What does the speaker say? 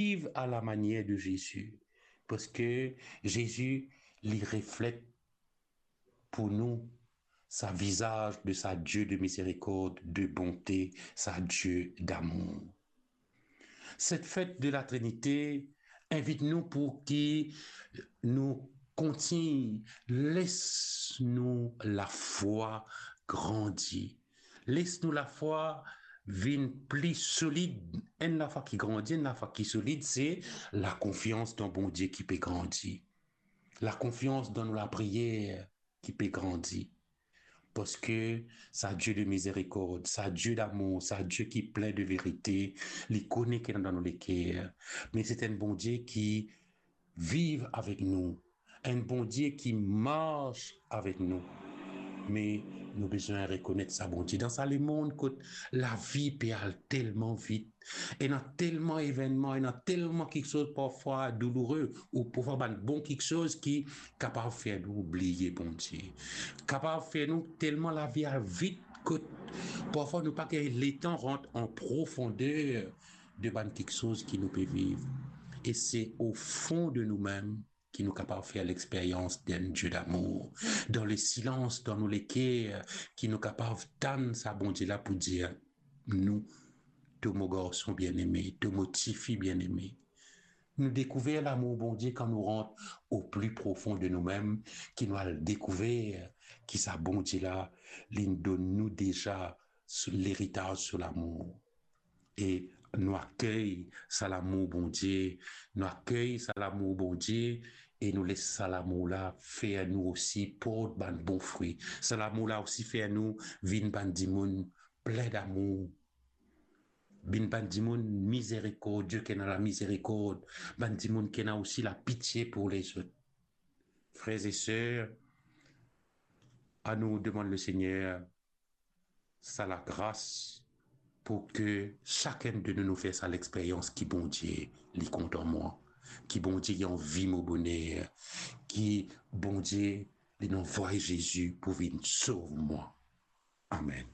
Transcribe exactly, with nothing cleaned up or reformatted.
viv a la manier de Zezi, parski Zezi, li reflet pou nou sa vizaz de sa Die de mizerikord, de bonte, sa Die damour. Set fet de la Trinite invit nou pou ki nou kontign les nou lafwa grandi. Les nou lafwa vinn pli solid. Enn lafwa ki grandi, enn lafwa ki solid, se lakonfians dan Bondie ki pe grandi. Lakonfians dan nou lapriyer ki pe grandi. Parski sa Die de mizerikord, sa Die damour, sa Die ki plin de verite, li kone ki ena dan nou leker. Me se enn Bondie ki viv avek nou, enn Bondie ki mars avek nou. Me nou bizin rekonet sa Bondie. Dan sa lemond kot lavi pe al telman vit, ena telman evennman, ena telman kiksoz parfwa douloure, ou parfwa bann bon kiksoz ki kapav fer nou bliye Bondie. Kapav fer nou telman lavi al vit kot parfwa nou pa gagn letan rant an profondeer de bann kiksoz ki nou pe viv. E se o fon de noumem ki nou kapav fer lexperyans d'enn Die damour. Dan lesilans, dan nou leker, ki nou kapav tann sa Bondie la pou dir nou, to mo garson bieneme, to mo tifi bieneme. Nou dekouver lamour Bondie kan nou rant o pli profon de noumem, ki nou al dekouver ki sa Bondie la, li donn nou deza so leritaz so lamour. E nou akey sa lamour Bondie, nou akey sa lamour Bondie, e nou les sa lamour la fer nou osi port bann bon fri. Sa lamour la osi fer nou vinn bann dimoun plin damour, vinn bann dimoun mizerikordie, ki ena lamizerikord, bann dimoun ki ena osi lapitie pou lezot. Frer e ser, anou demann Lesegner sa lagras pou ki sakenn de nou, nou fer sa lexperyans ki Bondie, li kontan mwa, ki Bondie, li anvi mo boner, ki Bondie, li anvway Zezi pou vinn sov mwa. Amen.